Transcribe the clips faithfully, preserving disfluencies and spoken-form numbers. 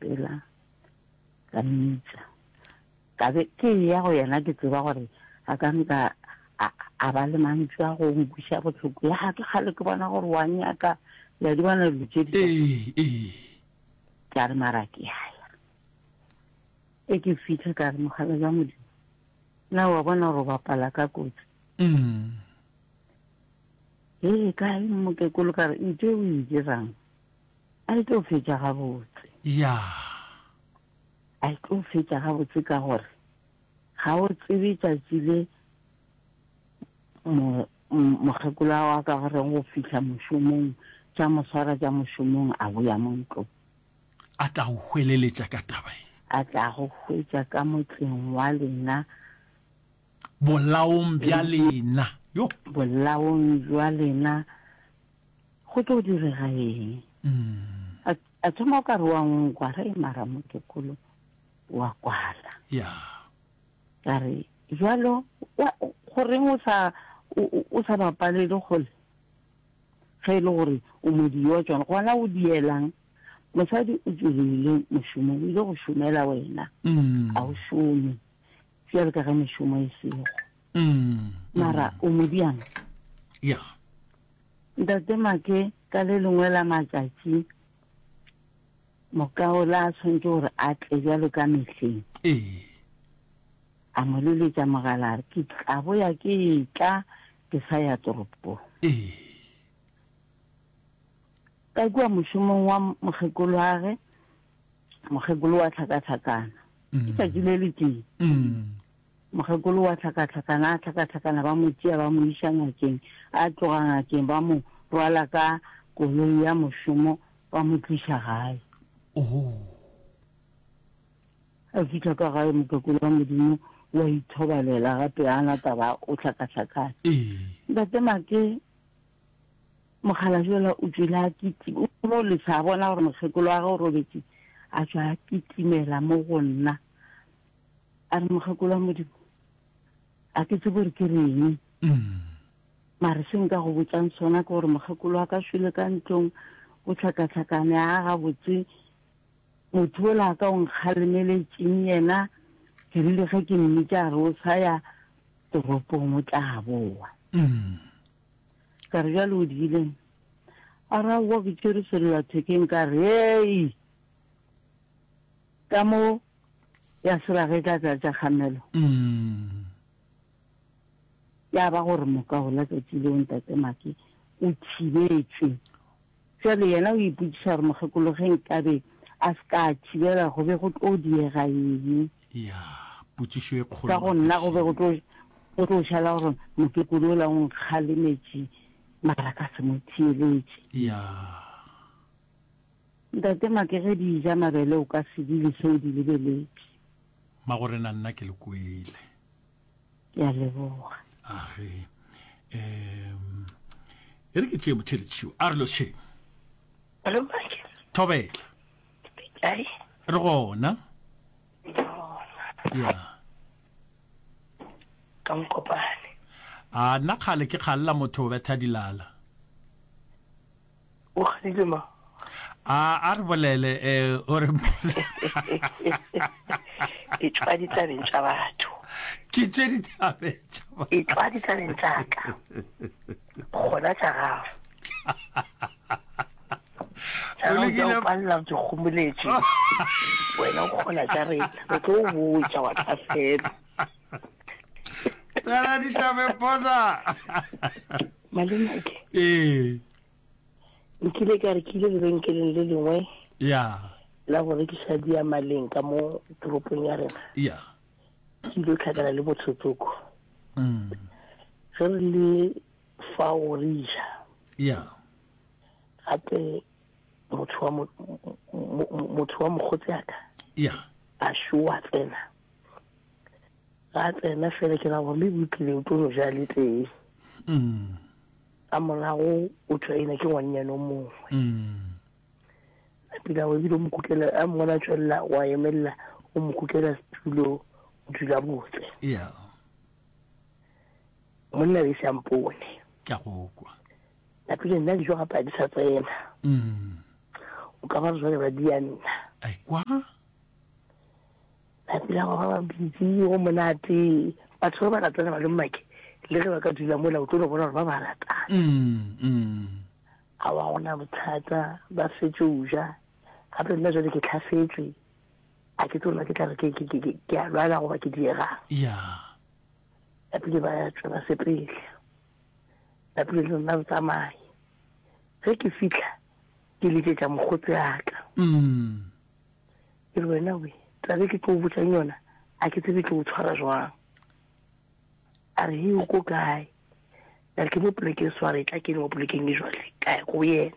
rapela ka mmitša. Ka be ke eya go yena ke tseba gore a ka nka a, a ba le mantšu a go nkweša bohloko. Ya ke kgale ke bona gore wa nyaka, le a di bona dilo tše di Ee, ee. Ka re mara ke a ya. E ke fitlha ka re mogala jwa Modimo, na wa bona gore o bapala ka kotsi? Mm. Ee, kae mokekolo ka re ntho e o e dirang a e tlo fetša gabotse. Ya. A e tlo fetša gabotse ka gore ga o tsebe tšatši le mo mokgekolo wa ka goreng go fihla mošomong tša mo swara tša mošomong a boya mo ntlong. A tla go hweleletša ka taba ye. A tla go hwetša ka motseng wa lena. Bolaong bja lena. Yo! Bolaong bja lena go tlo direga eng? A, a thoma o ka re wa nkwa, re mara mokekolo wa kwala. Ya. Ka re, bjalo, wa, goreng o sa, o, o sa bapalele kgole? Ge e le gore o modiyi wa tšona, gona o dielang? Mosadi o tšwelile mošomong, o ile go šomela wena, a o šome bjalo ka ge mešomo e sego. Mara o mo diang? Ya. Ntate Make, ka le lengwe la matšatši, mokaola a swanetše gore a tle bjalo ka mehleng. Ee. A mo leletša mogala a re, Ke tla boya ke etla ke sa ya toropong. Ee. Ka kua mošomong wa mokgekolo'age, mokgekolo wa hlakahlakana. Ke tšatši le letee. Mokgekolo wa hlakahlakana, a hlakahlakana, ba mo tšea ba mo iša ngakeng. A tloga ngakeng ba mo rwala ka koloi ya mošomo ba mo tliša gae. A fihla ka gae mokgekolo wa Modimo wa ithobalela gape a na taba o hlakahlakane. Ntate Make Mokgalabje o tšwele a kitima, o no lesa a bona gore mokgekolo wa gagwe o robetše, a tšwa a kitimela mo go nna. A re, Mokgekolo wa Modimo, a ke tsebe gore ke reng, mare se nka go botšang sona ke gore mokgekolo wa ka šwele ka ntlong, o hlakahlakane, a gabotse. Motho yola a ka o nkgalemeletšeng yena, ke rile ge ke mmitša a re o sa ya toropong o tla boa. Ka re, Bjale o diileng? A re, Aowa, ke tšere sellathekeng. Ka re, Hei! Ka mo ya seraga e tla tlatša kgamelo. Ya ba gore moka ola tšatši leo Ntate Make o thibetšwe. Bjale yena o ipotšiša gore mokgekolo ge nkabe a se ka a thibela go be go tlo diega eng? Ya, potšišo e kgolo Ka go nna go be go tlo go tlo šala gore mokekolo ola o nkgalemetše mara ka se mo theeletše. Ya. Ntate Make ge di ja mabele o ka se di lese o di lebeletše. Magorena nna ke le kwele. Ke a leboga. Age. Um e re ke tšee motheletšiwo a re lošeng. Hello Make. Thobela. Kae? Re gona. Ya. Ka Mokopane. A nna kgale ke kgalela motho o betha dilala. O kgadile ma? A a re bolele eh o re E tšwa ditabeng tša batho. Ke tšwe ditabeng tša batho. E tšwa ditabeng tša ka. Gona tša gago. Tša gago tša o palela o di kgomoletše. Wena o kgona tša rena. Re tlo o botša wa tlhasela. Tsena ditabeng posa. Malome ke. Ee. Nkile ka re ke ile lebenkeleng le lengwe. Ya. La go rekiša diyamaleng ka mo toropong ya rena. Ya. Ke ile tlhakana le motho tsoko. Mm. Ge re le fao re ja. Ya. Gape motho wa motho wa mokgotsi a ka. Ya. A šoa tsena. Ga tsena fela ke ra gore maybe o tlile o tlo no ja le tee. Mm. Ka morago o tšwaena ke ngwannyane o mongwe. Mm. Napile o ebile o mo kukela, a mmona a tšwelela wa emelela o mo kukela setulo o dula botse. Yeah. Monna be se a mpone. Ke a go kwa. Napile nna dijo gape a di sa tsena. Mm. O ka ba re jwale ba di ya nna. Ai kwa. Napile go ba busy go monate. Batho ba ba ratana ba le mmake le ge ba ka dula mola o tlo no bona gore ba ba ratana. Mm, mm. A wa gona bothata ba fetše o ja. Gape nna jwale ke tlhafetšwe. A ke tsebe gore ke tla re ke ke ke ke a lwala goba ke diegang. Ya. Napile ba tšwa ba sepele. Napile le nna re tsamaye. Ge ke fihla ke letšetša mokgotsi a ka. Mm. Ke re wena we, taba e ke tlo o botšang yona a ke tsebe e tlo o tshwara jwang. A re he o ko kae? Ka re ke mo polekeng so a re etla ke le mo polekeng e jwale ka ya ko yena.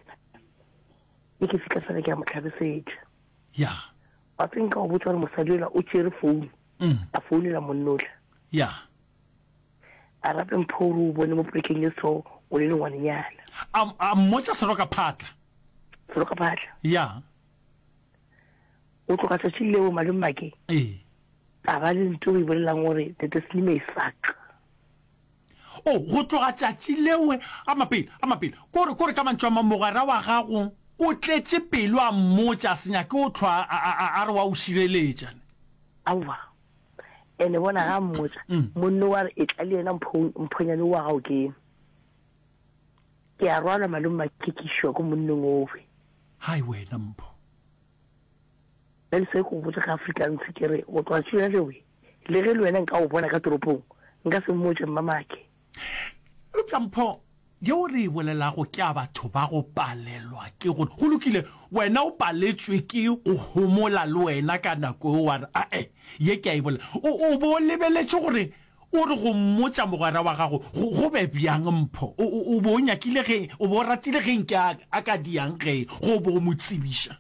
Ge ke fihla fela ke a mo hlabesetša. Ya. Wa tseba nka go botša gore mosadi yola o tšere founu Mm. a founela monna ola. Ya. A rape Mpho o re o bone mo polekeng e so o le le ngwanenyana. A, a mmotša seroka phatla. Seroka phatla. Ya. O tloga tšatši leo malome Make. Ee. A ba le nto o e bolelang gore the destiny may suck. O, go tloga tšatši leo, a mapele, a mapele. Kore, kore ka mantšu a mang mogwera wa gago o tletše pelo a mmotša a se nyake o hlwa a, a, a, a re wa o šireletša. Aowa. Ene bona ga a mmotša, Mm. monno wa re etla le yena Mpho, Mphonyane wa gago ke. Ke a rwalwa malome Make ke išwa ko monneng owe. Hai wena Mpho. Bjale se ke go botša ka Afrikaans ke re go tloga tšona lewe, le ge le wena nka go bona ka toropong, nka se mmotše mmamake. Eupša mpho yeo re e bolelago ke ya batho ba go palelwa ke gore, go lokile, wena o paletšwe ke go homola le wena ka nako yeo wa re, Ae, ye ke a e bolela. O, o be o lebeletše gore o re go mmotša mogwera wa gago go, go be bjang, Mpho? O, o, o be o nyakile ge, o be o ratile ge nke a, a ka diang ge go be o mo tsebiša?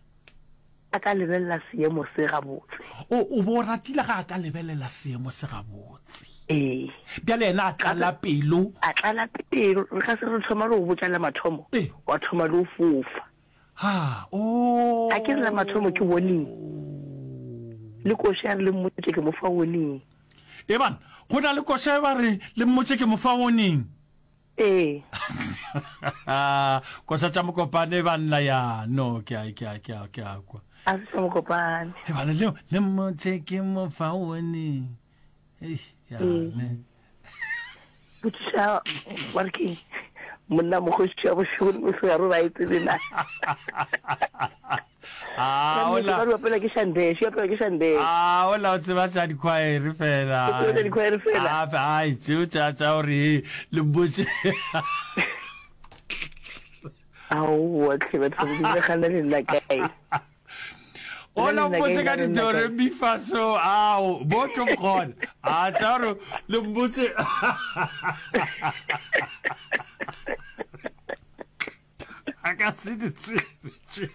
A ka lebelela seemo se gabotse. O, o be o ratile ge a ka lebelela seemo se gabotse. Ee. Bjale yena a tlala pelo. A tlala pelo. Re ka se re thoma le go botša la mathomo, Ee. wa thoma le go fofa. Ha, oo. A ke re la mathomo ke warning. Le koša ya re le mmotše ke mo fa warning. Eban, go na le koša e ba re le mmotše ke mo fa warning. Ee. Koša tša Mokopane banna ya no ke a ke a ke a ke a kwa. A se tša Mokopane. E bana le le mmotše ke mo fa warning. Ei ya Ee. ne. Botšiša wa re keng monna mokgoši wa bošego le mosegare ba e tsebe na. Ah, Ka nnete, ola. ba re opela ke Shandesh, e opela ke Shandesh. Ah, ola o tseba tša dikhwaere fela. O tseba tša dikhwaere fela. Ah, ai, tšeo tša tša gore he, le mmotše. Aowa tlhe batho ba Modimo, le gana le nna kae? Ola Le nna mpotše kae, ka le nna ditore kae? mi fa so ao bo tlo mkgona a tša gore le mmotse a ka se di tsebe tše.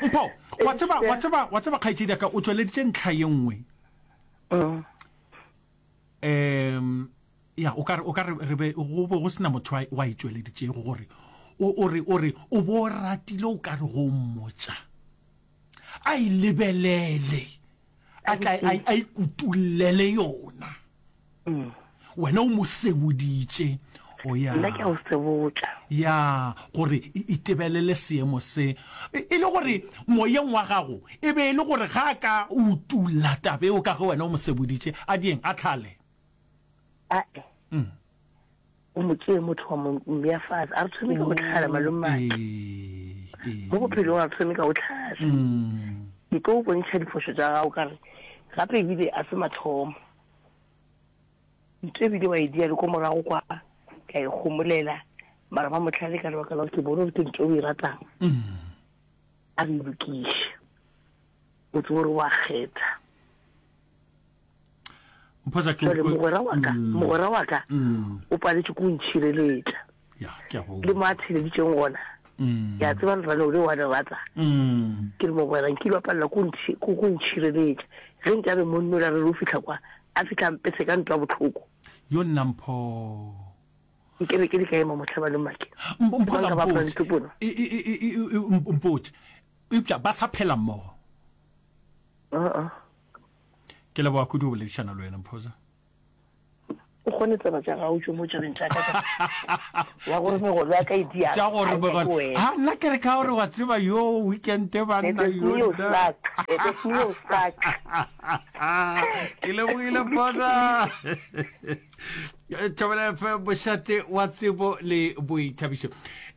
Mpho, wa tseba, wa tseba, wa tseba kgaetšedi ya ka o tšweleditše ntlha ye nngwe. Mm. Um ya o ka re o ka re re be go be go sena motho wa wa e tšweleditšego gore o o re o re o bo ratile o ka re go mmotša a e lebelele a tla a a ikutullele yona. Mm. Wena o mo seboditše. O ya. Nna ke a o sebotša. Ya, gore e itebelele seemo se. E le gore moyeng wa gago e be e le gore ga a ka utulla taba eo ka ge wena o mo seboditše, a dieng, a tlhale. Ae. Mm. O mo tšee motho wa mo mmea fase. A re thome ka go tlhala, malomake. Ee, ee. Mo bophelong a re thome ka go tlhala. Mm. Ke tlo o bontšha diphošo tša gago ka re gape ebile a se mathomo. Ntho ebile wa e dia le ko morago kwa ka e gomolela mara ba motlhale ka lebaka la gore ke bone gore ke ntho o e ratang. Mm. A re e lokiše. O tsebe gore wa kgetha. Mphosa ke Jwale mogwera wa ka, Mm. mogwera wa ka Mm. o paletše ko ntšhireletša. Ya, ke a go. Le mo a theleditšeng gona. Mm. Ke a tseba lerano le wa le rata. Mm. Ke re mogwera nkile wa palela ko ntšhi- ko ko ntšhireletša. Ge nkabe monna ola re re o fihla kwa, a fihla a mpethe ka ntwa bohloko. Yo nna Mpho. Nke be ke le ka ema mohlaba le make. Mpho Ke sa banka ba mpotše. apara ditopono. E, e, e, e, e, e, mpotše. Eupša ba sa phela mmogo. Uh-uh. Ke leboga kudu go boledišana le wena Mphoza. O kgone tseba tša gago tšo mo tšabeng tša ka tša ya gore megolo ya ka e dia. Tša gore megolo. Ha nna ke re ka gore wa tseba yo weekend banna yo. Ke lebogile Phosa. Thobela F M mošate wa tsebo le boithabišo.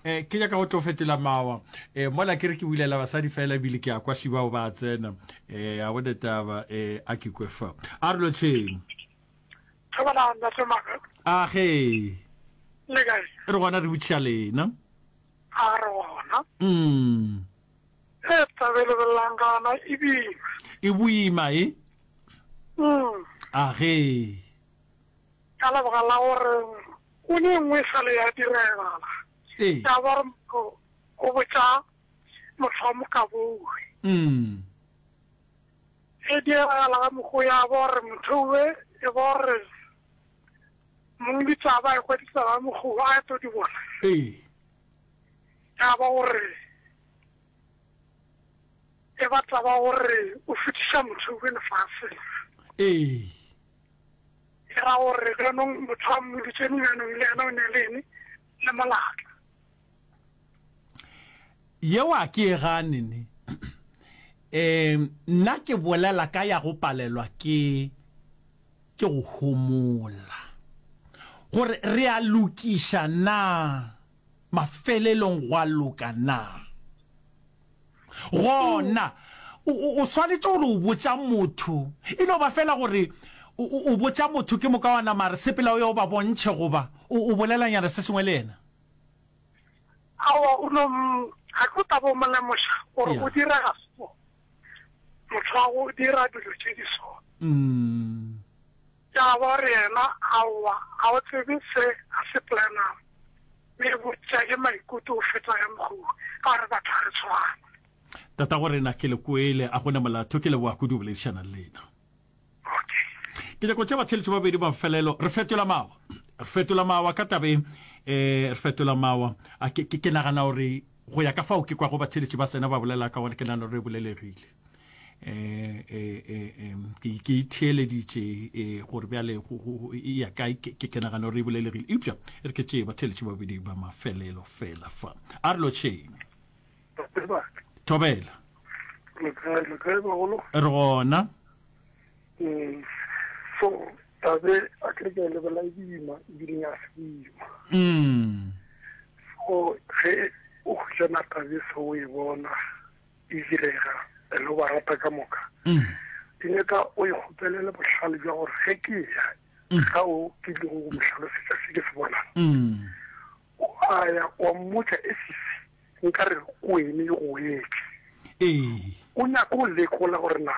Eh ke nyaka go tlo fetola mawa. Eh mola ke re ke bulela basadi fela ebile ke a kwa šibao ba tsena. Eh a bone taba eh a ke kwe fa. A re lotšheng. Thobela ntate Maka. A ge. Le kae? Re gona re botšiša lena. A re gona. Mm. E taba e lebelelang ka yona e boima. E boima e? Mm. A ge. Ka lebaka la gore o ne nngwe e sale ya diregala. Ee. Ya ba gore motho o botša motho wa mokabowe. Mm. E diragala ka mokgwa ya ba gore motho owe e ba gore mong ditaba e kwa ditaba mokgwa a tlo di bona. Ee. Ya ba gore e ba taba gore o fetiša motho owe lefaseng. Ee. E ra gore jaanong motho a mmoditše jaanong le yena o ne le eng le molato. Yeo a ke e gane ne. Um nna ke bolela ka ya go palelwa ke ke go homola. Gore re a lokiša na mafelelong gwa loka na. Gona o swanetše gore o botša motho e no ba fela gore o botša motho ke moka wa nama re sepela o ye o ba bontšhe goba o bolelanyana se sengwe le yena. Aowa o no ga ke o taba o mo lemoša gore o direga so. Motho wa go dira dilo tše di so. Mm. Ya ba gore yena aowa ga o tsebe se a se planang. Mme botša ke maikutlo o feta ya mokgwa ka gore batho ga re tshwane. Tata go rena ke le kwele a gona molato ke leboga kudu boledišana le lena. Okay. Ke nyako tša batheletši babedi ba mafelelo re fetola mawa. Re fetola mawa ka tabeng eh re fetola mawa. A ke ke nagana gore go ya ka fao ke kwa go batheletši ba tsena ba bolela ka gona ke nagana gore re bolelegile. Eh eh eh ke ke itheeleditše eh gore bjale go e ya kae ke ke nagana gore e bolelegile. Eupša re ke tšee batheletši babedi ba mafelelo fela fa. A re lotšheng. Thobela. Le kae le kae bagolo? Re gona. Mm. So tabe a ke re ke lebela e boima ebile ya se boima. Mm. So ge o hwetšana tabe se o e bona e direga le o ba rata ka moka. Mm. Ke nyaka o e kgopelele bohlale bja gore ge ke ya ga o ke ile go mo hlalosetša se ke se bonang. Mm. O a ya wa mmotša e sisi nkare ko ene e go wetše. Ee. O nyaka o lekola gore na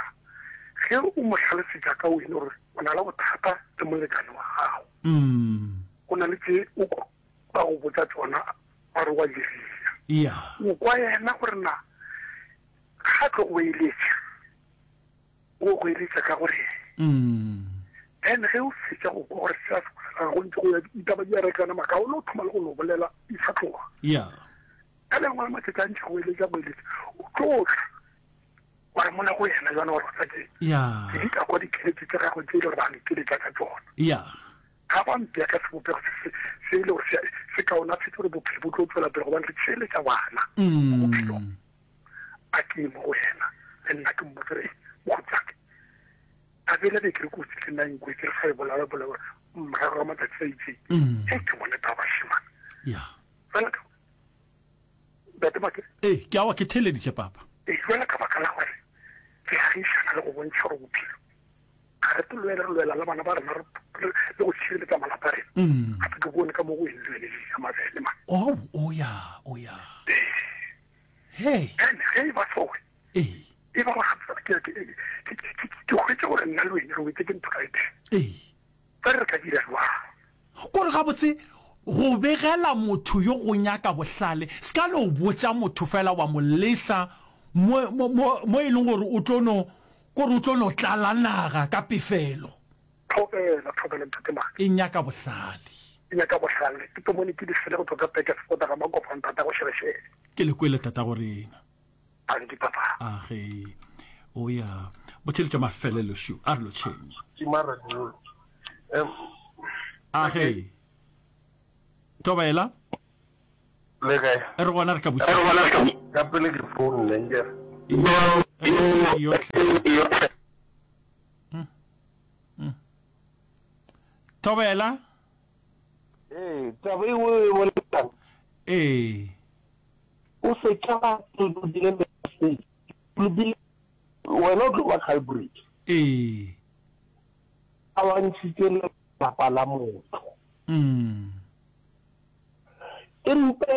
ge o mo hlalosetša ka wene gore o na le bothata le molekane wa gago. Mm. O na le tše o ba go botša tšona ba re wa diria. Yeah. O kwa yena gore na ga tlo go eletša o go eletša ka gore Mm. then ge o fetša go kwa gore se a se bolelang go ntse go ya ditaba di a rekana maka o no thoma le go no bolela di sa tloga. Yeah. Ka lengwe la matšatši a ntše go eletša go eletša o tlo tla wa re mona go yena jwana gore tsa ke Yeah. ke di ka kwa dikeletšo tša gagwe tše e le gore ba nkeletša ka tšona. Yeah. Ga ba mpea ka sebopego se se se e le gore se se kaonafetse gore bophelo bo tlo tswela pele gobane re tšheletša bana mo bophelong. Mm. A ke mo go yena le nna ke mmotse re mokgotsi wa ka tabele be ke re kotsi le nna nkwe ke re sa e bolela bolela gore morago ga matsatsi a itseng Mm. e ke bone taba shimane. Yeah. Fela ka ntate Make Ee, ke awa ke theeleditše papa. e jwela ka baka la gore re agišana le go bontšha gore bophelo ga re lwela re lwela le bana ba rena le go tshireletsa malapa a rena. Mm. Gape ke bone ka mo go eng le wene le mabele man. Oh, oh ya, oh ya. Hey. Then ge e ba sowe Ee. e ba gore ke ke ke ke hwetše gore nna le wene re wetse ke ntho ka ete. Ee. Ka re ka dira jwang? Kore gabotse go begela motho yo go nyaka bohlale se ka no botša motho fela wa mo lesa mo mo mo e leng gore o tlo no kore o tlo no tlala naga ka pefelo. Thobela, thobela ntate Make. E nyaka bohlale. E nyaka bohlale. Ke tlo mone ke di fele go tloga peke sepota ga makopa ntata go šelešele. Ke le kwele tata go rena. Tanki papa. A ge o ya botheletša mafelelo šo a re lotšheng. Ke mara dilo. Em A ge. Thobela. Le kae? Re gona re ka botšiša. Ka pele ke founne nkere. Yohle. Thobela. Ee, taba e nngwe e bolelang. Ee. O se ka ba tlolobile message. Tlolobile wena o tlo ba culprit. Ee. A wa ntšhitše lapa la motho. Mm. Empe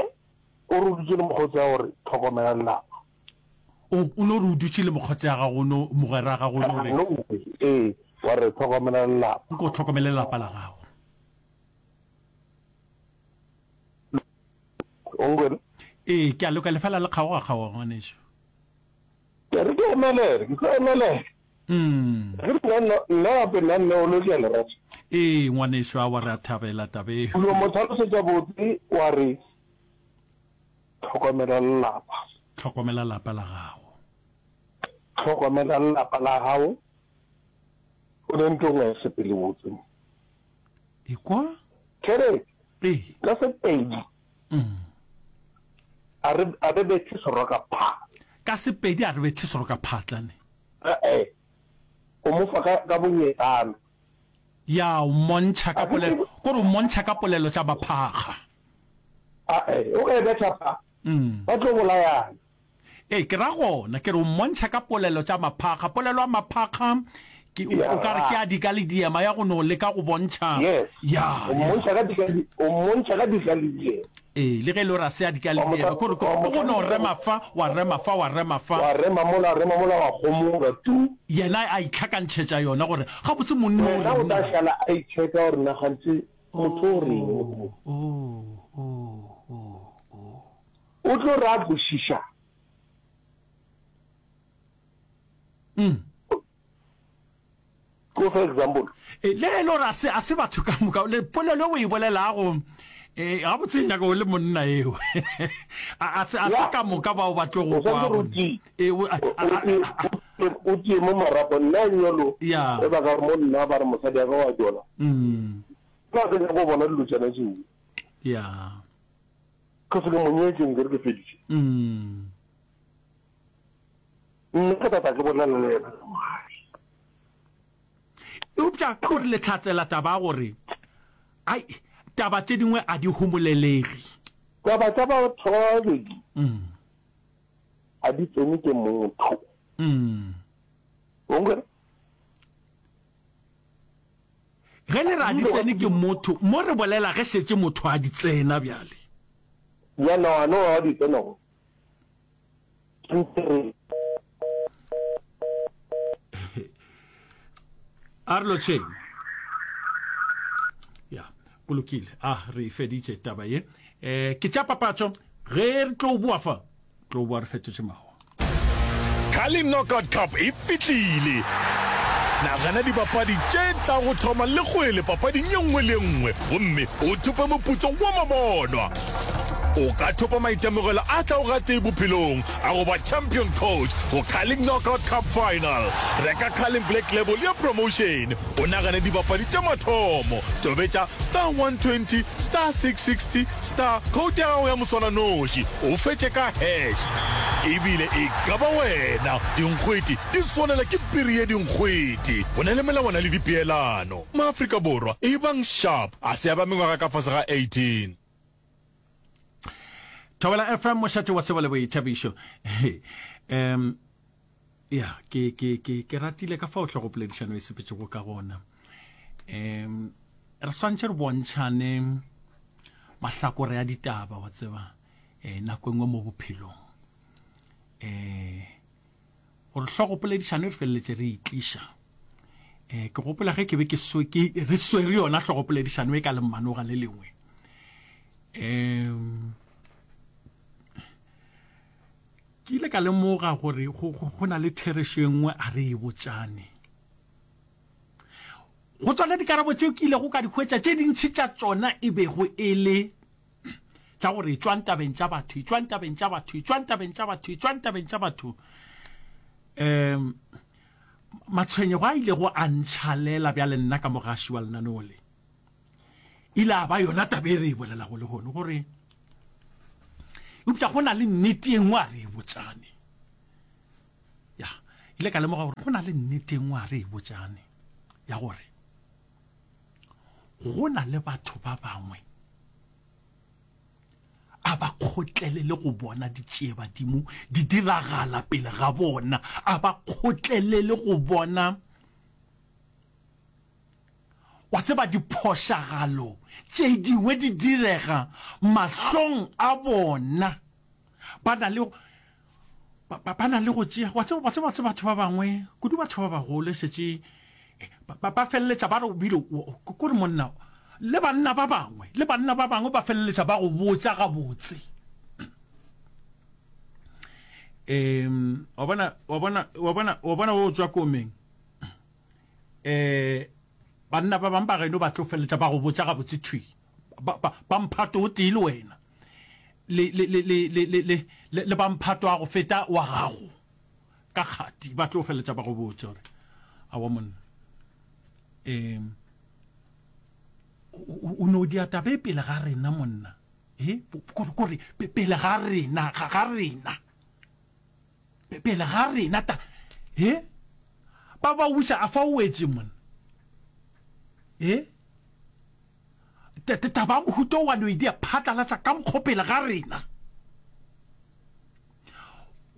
o re o dutše le mokgotsi wa gore tlhokomela lelapa. O, o no re o dutše le mokgotsi ya gago, no, mogwera wa gago, no re. No, ee, wa re tlhokomela lelapa. Nko o tlhokomele lelapa la gago. O nkwele? Ee, ke a loka, lefela le kgaoga kgaoga, ngwanešu. Ke re ke emelele, ke tlo emelela. Mm. Ge nna nna nna gape nna nne o lo ke a le rata. Ee, ngwanešu, aowa re a thabela taba eo. O yo mo tlhalosetša botse wa re tlhokomela lelapa. Tlhokomela lapa la gago. Tlhokomela lelapa la gago. O ne ntlo nngwe ya sepele botse. Ekwa? Kere Ee. ka Sepedi Mm. a re a re bethe seroka phatla. Ka Sepedi a re bethe seroka phatla ne. E-e, o mo fa ka ka bonyetana. Ya, o mmontšha ka A ke polelo, tsebe. kore o mmontšha ka polelo tša maphakga. A-e, o ka e betha fa, Mm. ba tlo bolayana. Ee, ke ra gona, ke re o mmontšha ka polelo tša maphakga. Polelo ya maphakga ke, o, o ka re ke ya dika le diema, ya go no leka go bontšha. Yes. Ya, O ya. mmontšha ka dika le, o mmontšha ka dika le diema. Ee, le ge e le gore a se a dika le Wa mo diema, kore, wa mo ke go no hlalosetša rema fa, wa rema fa, wa rema fa. Wa rema mola, wa rema mola, wa homola, tu. Yena a itlhakantšhetša yona gore gabotse monna o Yena o reng tla na? šala a itšheka gore na gantši motho o reng mo. Oh, oh, oh, oh, oh. O tlo re a kwešiša. Mm. Ko fe example. E, le ge e le gore a se, a se batho ka moka, le polelo o e bolelago, e, gabotse e nyaka o le monna eo. A, a se, a se Ya. ka moka bao ba tlo go O swanetše kwago. gore o tie. E, o, a, O, a, o a, tie, a, o tie, o tie mo marapo. Nna nyolo, Ya. ge ba ka re mo nna ba re mosadi wa ka wa tšola. Mm. Nna ke nyaka go bona dilo tšona tšeo. Ya. Ke se ke mo nyetše nkere ke feditše. Mm. Nna ke tata ke bolela le yena ka mogala. Eupša ke gore le hlatsela taba ya gore ai taba tše dingwe a di homolelege. Taba tša batho ba babedi Mm. a di tsene ke motho. Mm. O nkwele? Ge le re a di tsene ke motho, mo re bolela ge šetše motho a di tsena bjale. Ya no, a no a di tsena go. Ke ntse re. A re lotšheng. Ya, go lokile. A re e feditše taba ye. Eh, ke tša papatšo. Ge re tlo boa fa, tlo boa re fetotše mawa. Carling Knockout Cup e fihlile! Nagana dibapadi tše tla go thoma le kgwele papading ye nngwe le ye nngwe gomme o thope moputso wa mabonwa. O ka thopa maitemogelo a tlago gatee bophelong a go ba champion coach go Carling Knockout Cup Final. Reka Carling Black Label ya promotion o nagane dibapadi tša mathomo. Tobetša star one twenty star six sixty star code ya gago ya moswananoši o fetše ka hash. Ebile e ka ba wena. Dinkgwete di swanela ke piri ye dinkgwete. Go na le melawana le dipeelano. Maafrika Borwa, ebang sharp. A se ya ba mengwaga ka fase ga eighteen. Thobela F M, mošate wa sebo le boithabišo. Um, ya, ke, ke, ke, ke ratile ka fao hlogopoledišano e sepetšego ka gona. Um, re swantše re bontšhane mahlakore a ditaba, wa tseba, eh, nako e nngwe mo bophelong. Eh, gore hlogopoledišano e re feleletše re itliša. Eh, ke gopola ge ke be ke swe, ke, re swere yona hlogopoledišano e ka lemmanoga le lengwe. Um, ke ile ka lemoga gore go, go, go na le therešo e nngwe a re e botšane. Go tsona dikarabo tšeo ke ilego ka di hwetša, tše dintši tša tšona e bego e le tša gore etšwang tabeng tša batho, etšwang tabeng tša batho, etšwang tabeng tša batho, etšwang tabeng tša batho. Um, matshwenyego a ilego a ntšhalela bjale nna ka mogaši wa lenaneo le. Ile a ba yona taba e re e bolelago lehono, gore eupša go na le nnete e nngwe a re e botšane. Ya, ile ka lemoga gore go na le nnete e nngwe a re e botšane, ya gore go na le batho ba bangwe a ba kgotlelele go bona ditšiebadimo di diragala pele ga bona, a ba kgotlelele go bona, wa tseba, diphošagalo tše dingwe di direga mahlong a bona. Ba na le, ba, ba, ba na le go tšea, wa tseba, wa tseba, wa tseba batho ba bangwe, kudu batho ba bagolo, e šetše, ba, ba, ba feleletša ba re o bile, o, o, kore monna, le banna ba bangwe, le banna ba bangwe ba feleletša ba go botša gabotse. Um, wa bona, wa bona, wa bona, wa bona o tšwa komeng. Um, banna ba bangwe ba geno ba tlo feleletša ba go botša gabotse thwi. Ba, ba, ba mphato o tee le wena. Le, le, le, le, le, le, le, le, le ba mphato wa go feta wa gago. Ka kgati, ba tlo feleletša ba go botša gore, aowa monna, um, o, o no dia taba e pele ga rena monna. E, kore, kore, pele ga rena, ga, ga rena. Pele ga rena ta, e, ba ba buša a fa o wetše monna. E, taba ya mohuta o wa no e dia phatlalatša ka mokgo pele ga rena.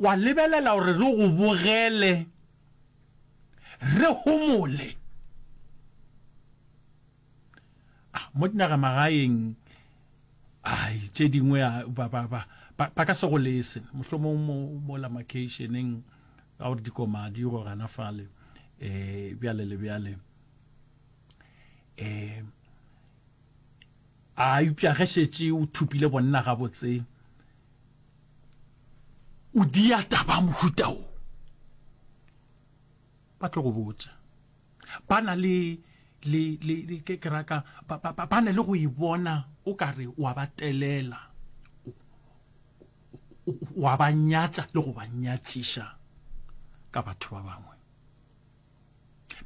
Wa lebelela gore re go bogele, re homole. Ah, mo dinagamagaeng, ai, tše dingwe a, ba, ba, ba, ba, ba ka se go lese. Mohlomong mo, mola makheišeneng, ka gore dikoma di go gana fale, eh, bjale le bjale. Eh, a eupša ge šetše o thupile bonna gabotse, o dia taba mohuta wo, ba tlo go botša. Ba na le, le, le, le, ke, ke raka, ba, ba, ba, ba na le go e bona o ka re wa ba telela, o, o, wa ba nyatša le go ba nyatšiša ka batho ba bangwe.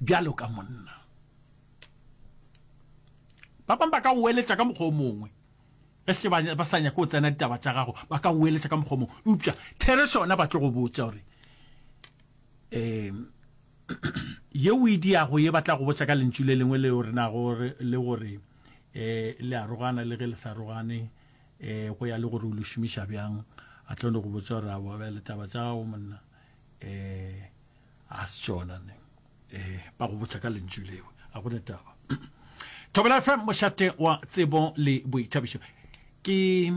Bjalo ka monna. Ba bangwe ba ka o eletša ka mokgwa o mongwe. Ge se ba, ba sa nyake go tsena ditaba tša gago, ba ka o eletša ka mokgwa o mongwe. Eupša therešo yona ba tlo go botša gore, um ye o e diago ye ba tla go botša ka lentšu le lengwe leo re nago le gore um le arogana le ge le sa arogane, um go ya le gore o le šomiša bjang. A tlo no go botša gore aowa bjale taba tša gago monna um a se tšona ne. Um ba go botša ka lentšu leo, a go ne taba. Thobela F M, mošate wa tsebo le boithabišo. Ke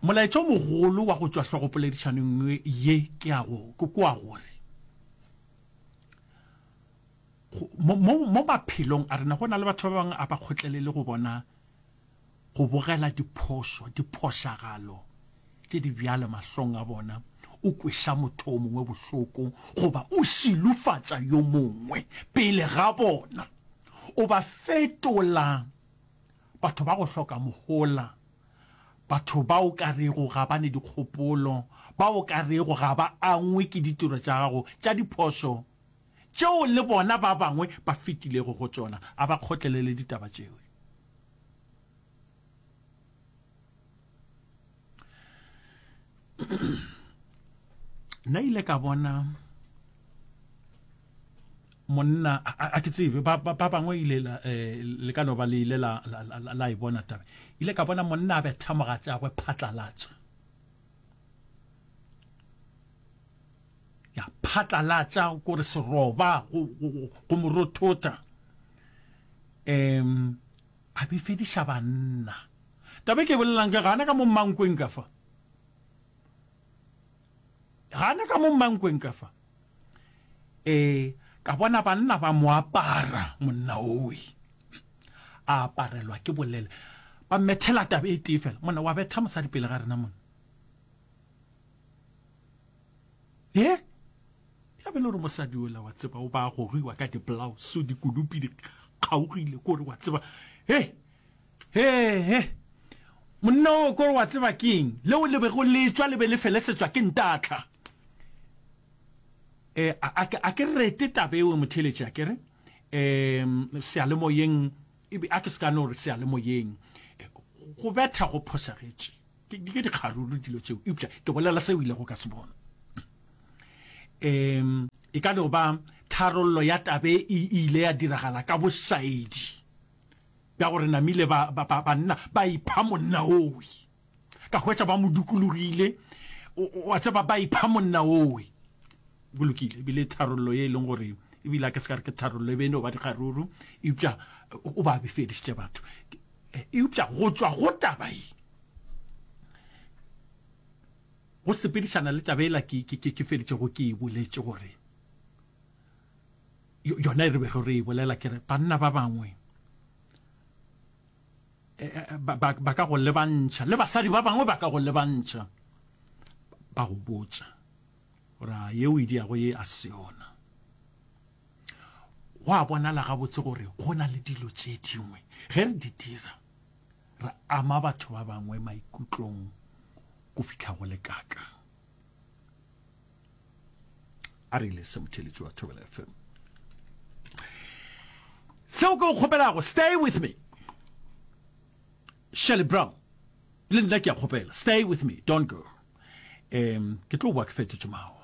molaetša o mogolo wa go tšwa hlogopoledišanong ye ke a go, ke kwa gore mo, mo, mo maphelong a rena go na le batho ba bangwe a ba kgotlelele go bona go bogela diphošo, diphošagalo tše di bjalo mahlong a bona, o kweša motho o mongwe bohloko goba o šilofatša yo mongwe pele ga bona, o ba fetola batho ba go hloka mohola, batho ba o ka rego ga ba ne dikgopolo, ba o ka rego ga ba angwe ke ditiro tša gago tša diphošo tšeo le bona ba bangwe ba fetilego go tšona. A ba kgotlelele ditaba tšeo. Nna ile ka bona monna, a, a ke tsebe, ba, ba, ba bangwe ile la, eh, le ka no ba le ile la, la, la, la, la e bona taba. Ile ka bona monna a betha mogatšagwe phatlalatša. Ya, phatlalatša, kore seroba, go, go, go, go mo rothotha. Em, a befediša banna. Taba e ke e bolelang ke gana ka mo mmankweng ka fa. Gana ka mo mmankweng ka fa. E, ka bona banna ba mo apara, monna owe. A aparelwa ke bolele. Ba mmethela taba e tee fela. Monna, wa betha mosadi pele ga rena monna. E? Ya be le gore mosadi ola wa tseba o ba gogiwa ka diblauso, dikudupi di kgaogile, kore wa tseba. He! He, he! Monna o kore wa tseba keng? Leo le bego le tšwa le be le felesetšwa ke ntatlha. E, a, a, a ke rete taba eo motheeletši, a ke re? E, seyalemoyeng E be, a ke se ka no re seyalemoyeng, go betha go phošagetše. Ke, ke dikgaruru dilo tšeo, eupša ke bolela seo ilego ka se bona. Um, e ka no ba tharollo ya tabe e ile ya diragala ka bošaedi bja gore namile ba, ba, ba, banna ba ipha monna owe. Ka hwetša ba mo dukulogile, wa tseba, ba ipha monna owe. Go lokile, ebile tharollo ye e leng gore ebile a ke se ka re ke tharollo, e be e no ba dikgaruru, eupša o ba befedišitše batho. Eupša go tšwa go taba ye, go sepedišana le taba ela ke, ke, ke, ke feditšego ke e boletše gore yona e re bego re e bolela, ke re banna ba bangwe ba, ba, ba ka go lebantšha le basadi ba bangwe ba ka go lebantšha ba go botša gore a yeo e diago ye a se yona. Go a bonala gabotse gore go na le dilo tše dingwe ge re di dira re ama batho ba bangwe maikutlong go fihla go le kaka. A re ile se motheletši wa Thobela F M. Seo ke go kgopelago, stay with me. Shirley Brown, le nna ke a kgopela, stay with me, don't go. Um, ke tlo boa ke fetotše mawa.